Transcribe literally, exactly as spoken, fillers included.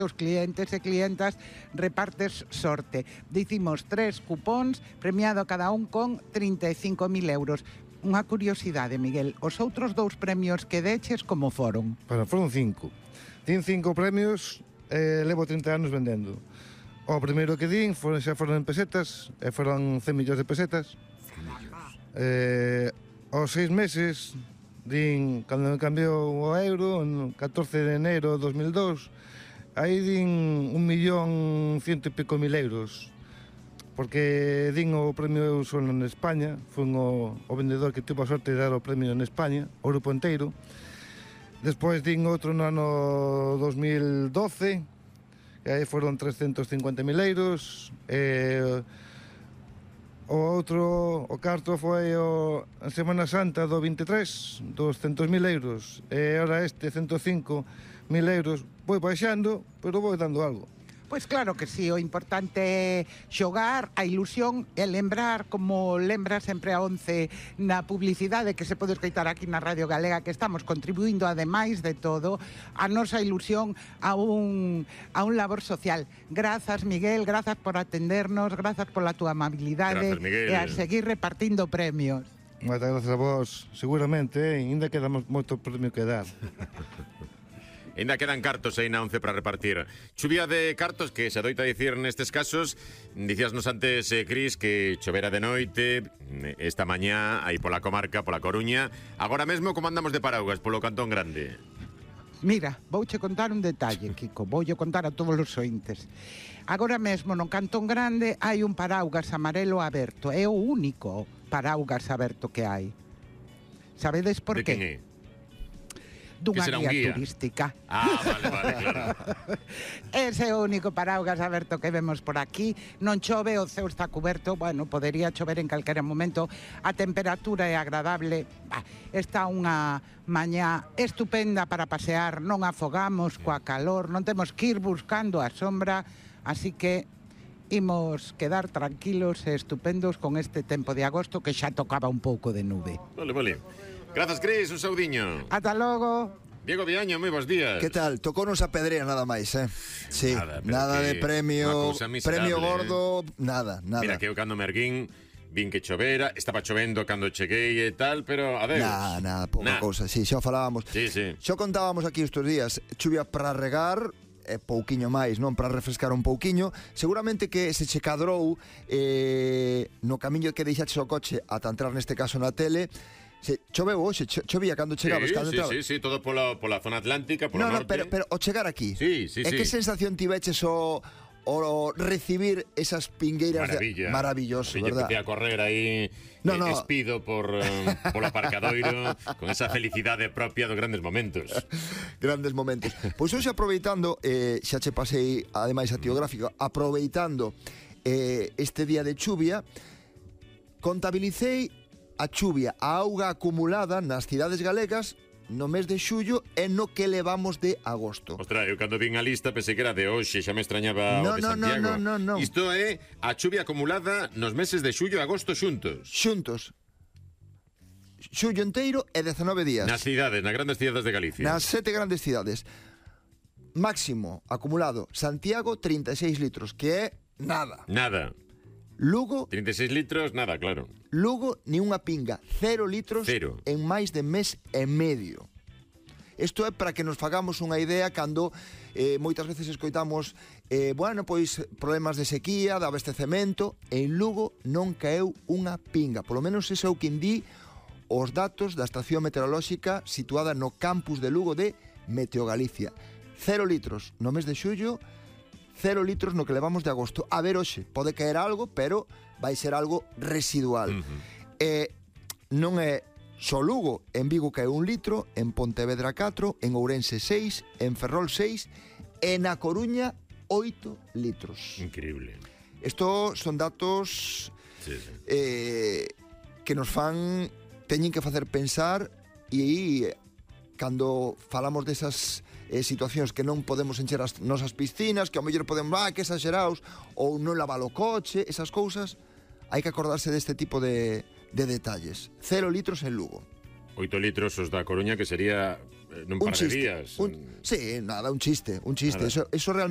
os clientes e clientas repartes sorte. Dicimos tres cupóns, premiado cada un con trinta e cinco mil euros. Unha curiosidade, Miguel, os outros dous premios que deches como foron? Bueno, foron cinco. Din cinco premios e eh, levo trinta anos vendendo. O primeiro que din foron, xa foron en pesetas, e foron cen millóns de pesetas. Eh, aos seis meses, din, cando me cambiou o euro, en catorce de enero de dos mil dous, aí din un millón ciento e pico mil euros, porque din o premio eu son en España, fui o, o vendedor que tuvo a sorte de dar o premio en España, o grupo inteiro. Despois din outro no ano dos mil doce, que aí foron trescentos cincuenta mil euros, e o outro, o carto foi o, a Semana Santa do vinte e tres, doscientos mil euros, e ahora este ciento cinco mil euros. Vou baixando, pero vou dando algo. Pois claro que sí, o importante é xogar, a ilusión e lembrar, como lembra sempre a once na publicidade que se pode escoitar aquí na Radio Galega, que estamos contribuindo, ademais de todo, a nosa ilusión a un, a un labor social. Grazas, Miguel, grazas por atendernos, grazas pola túa amabilidade e a seguir repartindo premios. Moitas grazas a vos, seguramente, eh? Ainda queda moito premio que dar. Ainda quedan cartos aí na once para repartir. Chuvia de cartos que se adoita dicir nestes casos. Dicíasnos antes, eh, Cris, que chovera de noite esta mañá aí pola comarca, pola Coruña. Agora mesmo como andamos de paraugas polo Cantón Grande? Mira, vouche contar un detalle, Kiko, voulle contar a todos os ointes. Agora mesmo no Cantón Grande hai un paraugas amarelo aberto, é o único paraugas aberto que hai. Sabedes por de qué? Quen é? Dunha guía, guía turística. Ah, vale, vale, claro. Ese é o único paraugas aberto que vemos por aquí. Non chove, o ceo está cuberto. Bueno, podería chover en calquera momento. A temperatura é agradable. Bah, está unha mañá estupenda para pasear. Non afogamos coa calor. Non temos que ir buscando a sombra. Así que imos quedar tranquilos e estupendos con este tempo de agosto que xa tocaba un pouco de nube. Vale, vale. Grazas, Cris, un saudiño. Ata logo. Diego Viaño, moi bons días. Que tal? Tocounos a pedrea nada máis, eh? Sí, nada, nada de premio, premio gordo, eh? nada, nada. Mira, que eu cando me erguín, vin que chovera, estaba chovendo cando cheguei e tal, pero adeus. Nada, nada, pouca cousa, sí, xa falábamos. Sí, sí. Xa contábamos aquí estes días, chuvia para regar, e pouquiño máis, non? Para refrescar un pouquiño. Seguramente que se che cadrou eh, no camiño que deixaches o coche ata entrar neste caso na tele. Se choveu hoxe, cho, chovía cando chegabas, sí, cando sí, entrabas. sí, sí, todo pola, pola zona atlántica, polo no, no, norte. pero, pero o chegar aquí. Sí, sí, e sí. que sensación tiveches o, o recibir esas pingueiras Maravilla. de... Maravilloso, sí, verdad? Empecé a correr aí, no, eh, no. espido por, um, polo aparcadoiro, con esa felicidade propia dos grandes momentos. Grandes momentos. Pois hoxe aproveitando, eh, xa che pasei, ademais a tío gráfico, aproveitando eh, este día de chuvia, contabilicei a chuvia, a auga acumulada nas cidades galegas no mes de xullo e no que levamos de agosto. Ostras, eu cando vin a lista pensei que era de hoxe, xa me extrañaba no, o de no, Santiago. No, no, no, no. Isto é a chuvia acumulada nos meses de xullo e agosto xuntos. Xuntos. Xullo enteiro e dezanove días. Nas cidades, nas grandes cidades de Galicia. Nas sete grandes cidades. Máximo acumulado, Santiago, trinta e seis litros, que é nada. Nada. Lugo... trinta e seis litros, nada, claro. Lugo, ni unha pinga. Cero litros Cero. En máis de mes e medio. Isto é para que nos fagamos unha idea cando eh, moitas veces escoitamos eh, bueno, pois problemas de sequía, de abastecemento. En Lugo non caeu unha pinga. Polo menos ese é o que indí os datos da estación meteorolóxica situada no campus de Lugo de Meteo Galicia. Cero litros no mes de xullo, cero litros no que levamos de agosto. A ver, hoxe, pode caer algo, pero vai ser algo residual. Uh-huh. E non é só Lugo. En Vigo cae un litro, en Pontevedra catro, en Ourense seis, en Ferrol seis, e na Coruña oito litros. Increíble. Isto son datos sí, sí. Eh, que nos fan, teñen que facer pensar, e cando falamos desas eh, situacións que non podemos encher as nosas piscinas, que ao mellor podemos, ah, que exagerados, ou non lavar o coche, esas cousas, hai que acordarse deste tipo de, de detalles. Cero litros en Lugo. Oito litros os da Coruña, que sería eh, nun un par chiste, de días. Un, sí, nada, un chiste, un chiste. Eso, eso realmente